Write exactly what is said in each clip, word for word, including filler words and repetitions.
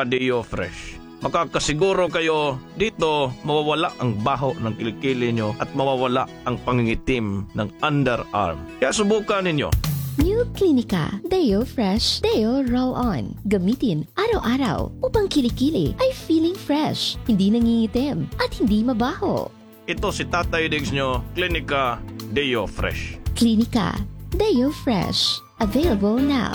Deo Fresh. Makakasiguro kayo dito mawawala ang baho ng kilikili nyo at mawawala ang pangingitim ng underarm. Kaya subukan ninyo. New Clinica Deo Fresh Deo Roll On. Gamitin araw-araw upang kilikili ay feeling fresh, hindi nangingitim, at hindi mabaho. Ito si Tatay Diggs nyo, Klinika Deo Fresh. Klinika Deo Fresh. Available now.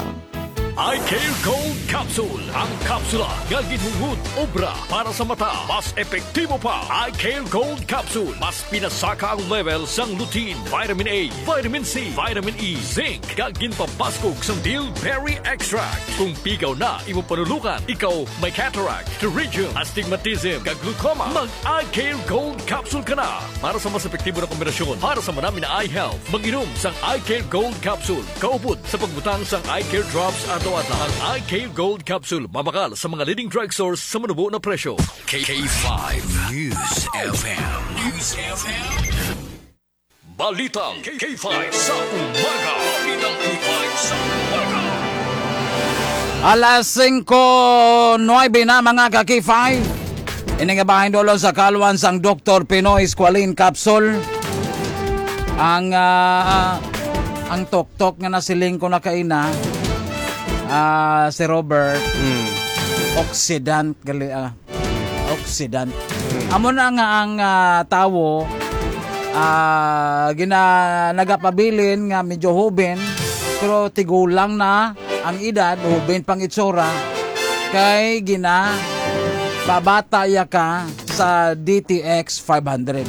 Eye Care Gold Capsule. Ang kapsula nga ginhungod obra para sa mata. Mas epektibo pa. Eye Care Gold Capsule. Mas pinasaka ang level sang lutein, vitamin A, vitamin C, vitamin E, zinc, kag ginpabaskog sang bilberry extract. Kung pigaw na imo panulukan, ikaw may cataract, pterygium, astigmatism, kag glaucoma, mag Eye Care Gold Capsule ka na. Para sa mas epektibo na kombinasyon para sa manami na eye health, mag-inom sang Eye Care Gold Capsule. Kaupod sa pagbutang sang Eye Care Drops adlaw-adlaw. Ang Eye Care Gold Capsule mabakal sa mga leading drugstores sa manubo na presyo. K five News F M. News F M. Balitang K five sa umaga. Balitang K five sa umaga. Alas singko nuwebe na, mga ka-K five. Ini nga bahin dulong sa kalwan sang Doktor Pinoy Squalene Capsule. Ang, ah, ang tuktok nga nasiling ko na kaina, ah, si Robert, Mm. oxidant gali, ah, oxidant. Mm. Amo na nga ang, ah, tawo, ah, gina-, nagapabilin nga medyo hoben, pero tigulang na ang edad, hoben pang itsura, kay gina-, pabata iya ka sa D T X five hundred.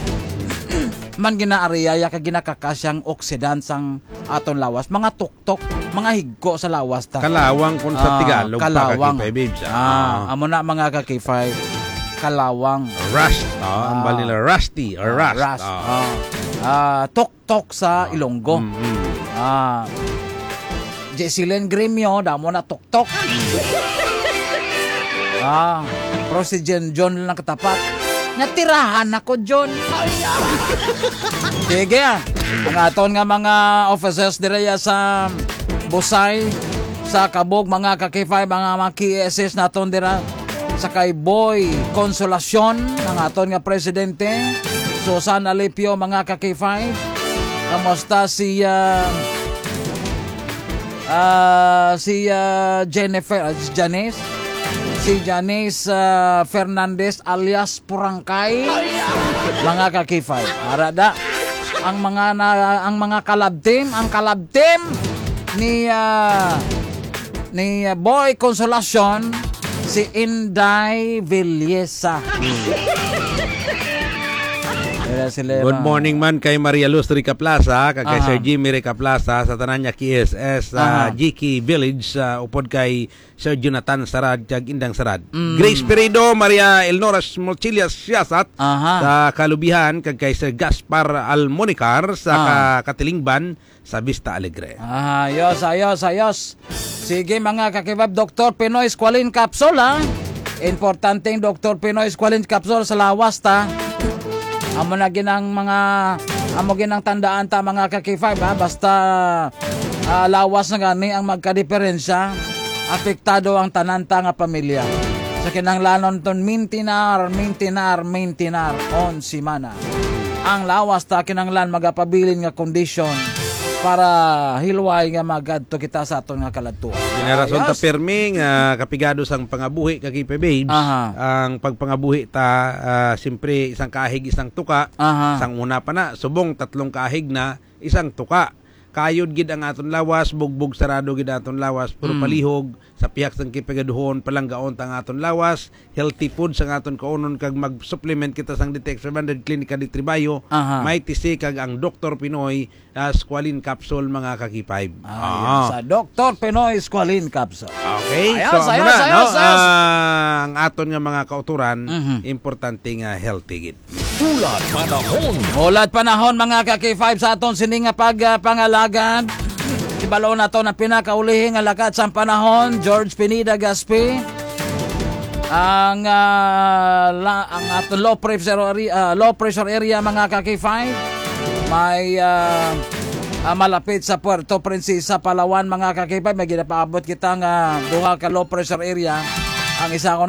Man ginaariya iya ka ginakakasyang oxidant sang aton lawas. Mga tuktok, mga higko sa lawas ta. Kalawang kung sa Ah, Tagalog pa, kalawang. Kakipay, babes, ah. Ah, Ah. amo na, mga kakipay. Kalawang. Rust, ah, ang Ah. bali nila, rusty or Ah, rust, rust. Ah. Ah. Ah, tuktok sa Ah. Ilonggo. Mm, mm. Ah. Jessilyn Gremio, damo na tuktok. Ah, pero si Jen John lang katapat. Natirahan ako, John. Sige, ah. Ang aton nga mga officers dira ya sa Busay, sa Kabog, mga ka-K five, mga, mga K S S naton dira. Sa kay Boy Consolacion, ang aton nga presidente. Susan Alipio, mga ka-K five. Kamusta si, ah, ah, si, ah, Jennifer, ah, si Janice? Si Janice, ah, Fernandez alias Purangkay. Mga ka-K five. Ara da. Ang mga na, ang mga kalab team, ang kalab team ni, ah, ni, ah, Boy Consolacion, si Inday Villesa. Kaya sila Good mga morning man kay Maria Luz Ricaplaza, kag kay Aha. Sir Jimmy Ricaplaza, sa tanan niya K S S, sa Aha. G K Village, sa upod kay Sir Jonathan Sarad, kag Indang Sarad. Mm. Grace Peredo, Maria Elnora Mochillas Siasat, Aha. sa Kalubihan, kag kay Sir Gaspar Almonicar sa Ah. Ka-, Katilingban, sa Vista Alegre. Ah, ayos, ayos, ayos. Sige, mga ka-K five, Doktor Pinoy Squalene Capsule, ha? Importante ang Doktor Pinoy Squalene Capsule sa lawas ta. Amo na ginang mga, amo ginang tandaan ta, mga ka-K five, ha? Basta, ah, lawas na gani ang magkadiperensya, apektado ang tanan ta nga pamilya. Sa kinahanglanon ton mintinar, mintinar, mintinar, on semana. Ang lawas ta kinahanglan magapabilin nga kondisyon para hilway nga magadto kita sa aton nga kaladtuan. Ginarason ta Ayos. Pirmi nga kapigado sang pangabuhi, ka-K five babes. Aha. Ang pagpangabuhi ta, ah, siyempre, isang kahig, isang tuka. Aha. Sang una pa na, subong tatlong kahig na, isang tuka. Kayod gid ang aton lawas, bugbog sarado gid ang aton lawas, pero Mm. palihog sa pihak sang kipigaduhon, palanggaon ta ang aton lawas, healthy food sang aton kaunon, kag mag-supplement kita sang D T X five hundred Clinica de Tribayo, Aha. May T C, kag ang Doktor Pinoy, ah, Squalene Capsule, mga ka-K five. Ah, Ah. yun. Sa Doktor Pinoy Squalene Capsule. Okay, Ayos, so, amo ayos, na, ayos, no? ayos. Ah, ang aton nga mga kauturan, Mhm. importante nga healthy gid. Tulad panahon. Tulad panahon, mga ka-K five, sa aton sini nga pag, ah, pangalagad. Ibalo nato na pinakaulihi nga lakat sang panahon, George Pineda Gaspi. Ang, ah, la-, ang aton low pressure area, ah, low pressure area, mga ka-K five, may, ah, ah, malapit sa Puerto Princesa, Palawan, mga ka-K five, may ginapaabot kita nga duha ka low pressure area. Ang isa ko